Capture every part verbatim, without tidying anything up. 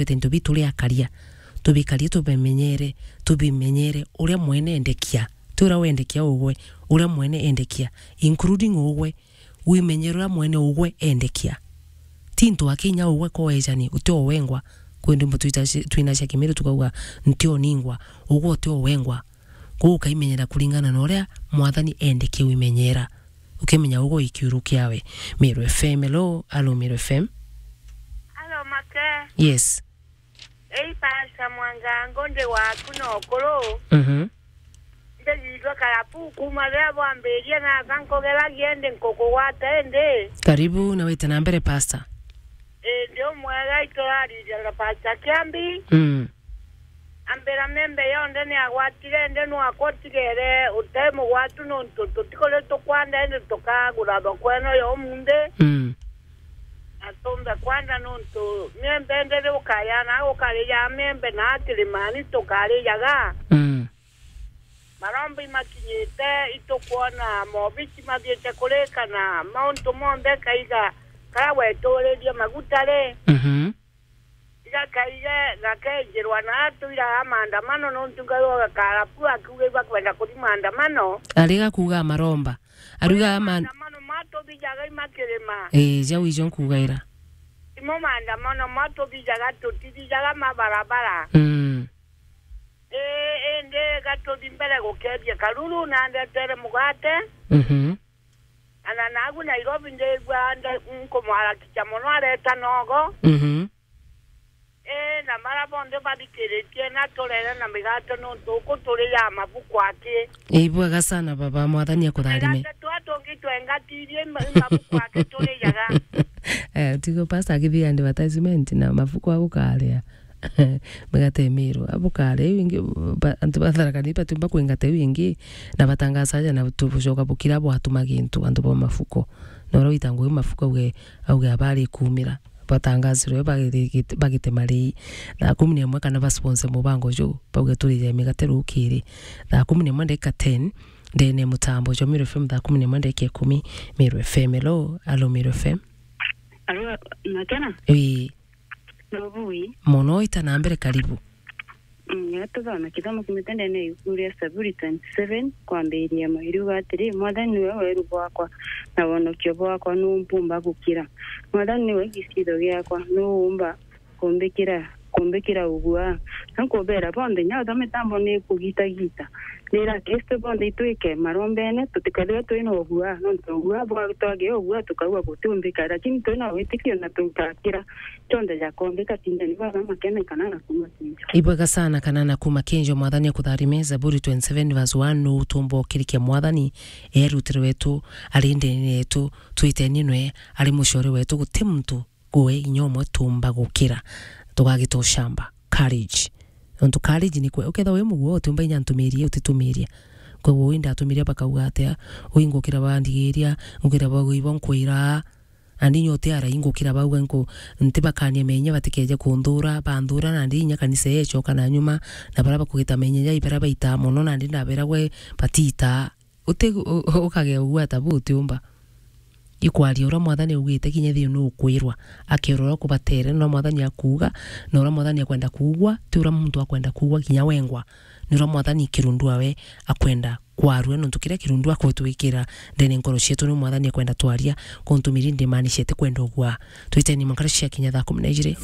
Twite into bitu ria akaria. Tubikarie, tubimenyere, tubimenyere uria mwene endekia. Ti uria wendekia ugwe, uria mwene endekia, including ugwe, wimenyere uria mwene ugwe endekia. Ti into akinya ugwe koejani, uti owengwa. Kwi ndwimbo twita-, twina cia Kimiru tukauga, "Nti oningwa, ugwe uti owengwa." Koguo ukaimenyera kuringana na uria Mwathani endekia wimenyera. Ukimenya ugwe ikiuru kiawe. Meru F M, hello, hello, Meru F M. Hello, Make. Yes. Ei, Pastor Mwangango, ndi waku na ukuru. Mhm. Ndijitwe Karabu kuma riria bwambirie, na aka nkugeragia indi nkukugwata indi. Karibu, na wite na mbere, Pastor. Indi umwega, ituraririria Pastor Kiambi. Mm. Ambira miembe yonthe ni agwatire, indi nwakwa utigere utai mugwatu, nontu tutikuri tukwanda, indi tukagura thoko ino ya umunthi. Mm. Na tumbe kwanda, nontu miembe ndiri ukaya na ukarija miembe na kirimani tukarijaga. Mm. Maromba imakinyite, itukwona mobici mathiite kurika na mauntu monthe, kaiga karia weturirie maguta ri. Mhm. Igakaiga gakenjirwa na atuiraga maandamano, nontu Ngai wa Karabu akiuga ibakwenda kuthi maandamano. Ari gakuuga maromba. Ariuga ma- maandamano matuthijaga imakirima. Ii, jau ijo nkugaira. Imo maandamano matuthijaga, tutithijaga mabarabara. Mm. Ii, indi gatuthi mbere gukeethia karuru, na ndetere mugate. Mhm. Ana nagu Nairobi ndigua nde-, nkumwarakicha mono areta nogo. Mhm. Ii, na mara bonthe bathikiritie na turere na migate nontu uku turi ya mabuku aki. Ii, bwega sana baba, Mwathani akutharime. Migate twa tungi twengatirie ima-, imabuku aki turijaga. Eh, tigo pastor akithia advertisement na mabuku agukaria. Migate miru. Abukare iu ingi, ba-, antu ba Tharaka Nithi batiumba kwingata iu ingi, na batangaza aja na tubucoka bukira bwatuma gintu antu ba mafuko. Na uria wita ngugi mafuko auge, auge abari kumira. Batangazirwe bagite, bagite marii. Thaa kumi na imwe kana ba sponsor mubango juu, bauge turije migate rukiri. Thaa kumi na imwe ndagika ten, ndene mutambo jwa Meru F M thaa kumi na imwe ndagika ikumi, Meru F M. Hello, alo Meru F M. Alo, Makena? Ii. Nobui. Mono, ita na mbere, karibu. Mm, tuthome kithomo kiumite ndene ya ibuku ria Zaburi twenty-seven, kwambiria imwe. Iriuga atiri, "Mwathani niwe weru bwakwa, na wonokio bwakwa, nuu mpumba gukira? Mwathani niwe giciitho giakwa, nuu umba kumbikira, kumbikira ugua?" Na nkubera bonthe, inya utha mitambo ni kugitagita. Nira Kristo bonthe itwike marombene, tutikarire twina ugua, nontu ugua bwa twagia ugua, tukauga gutiumbika, lakini twina witikio na tukakira. Kionthe jakombika, tindeni baba Makena kana na kuma Kinjo. Ibwega sana kana na kuma Kinjo, Mwathani akutharime. Zaburi twenty-seven verse one, nuu utumba ukirikia Mwathani, e rutiro rwetu, ari ndene yetu, twiteni nwe, ari mucore wetu, guti muntu gwe inya umwe tumba gukira. Tugagita ucamba. Courage. Nontu courage ni kwe, ukethirwa wi muguo, utiumba inya ntumirie, utitumiria. Koguo wi ndatumiria bakauga atia, wi ngukira bandigiria, ngukira bagui bo nkwira, Nandi inya utiara ingukira bauga nku-, ntibakania menya batikeje kunthura, banthura nandi inya kanisa iyo icoka na nyuma, na baria bakugita menya jai baria baitaa mono nandi ndabera gwe batiitaa. Uti-, u-, u-, ukagea ugwata bu utiumba. Ikwaria uria Mwathani augite kinya thiu nukwirwa. Akerwa uria kubatere, na uria Mwathani akuuga, na uria Mwathani akwenda kuugwa, ti uria muntu akwenda kuugwa kinya wengwa. Ni uria Mwathani kirundu awe akwenda kwarua, nontu kiria kirundu akutwikira ndene nkoro cietu ni Mwathani akwenda twaria, kuntumiri ndimaanisha ti kwenda ugwa. Twiteni mwankara cia kinya thaa kumi na ijiri.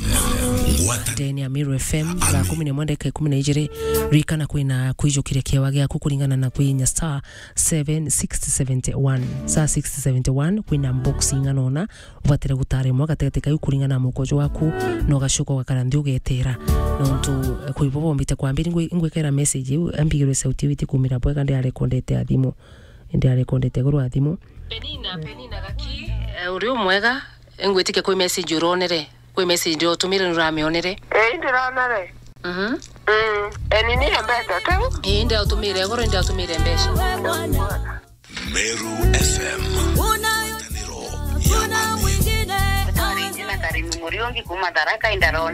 Ngwata. Ndene ya Meru F M, thaa kumi na imwe ndagika ikumi na ijiri. Ririkana kwina kwijukiria kiewa giaku kuringana na kwinya star seven six seventy one. Star six seventy one, kwina box ing'ana ona, ubatire gutara imwe gatigati kau kuringana na mukojo waku, na ugacoka ugakara nthi ugetera. Nontu, eh, kwi bo bombite kwambiri, ingwi-, ingwikira message iu, ambigirwe sauti iu itikumira bwega, ndiarekondete a thimu. Ndiarekondete iguru wa thimu. Penina, Penina Gaki, eh, uri umwega, ingwitikia kwi message uronere. Kwi message ndiotumire nuramionere. Ii, ndironere. Mhm. Mm. Eni ni mbeca tu? Ii, ndiatumire iguru, ndiatumire mbeca. Meru F M. Ngwataniro ya Ameru. Sorry, jina Karimu Muriungi kuma Tharaka, indarona.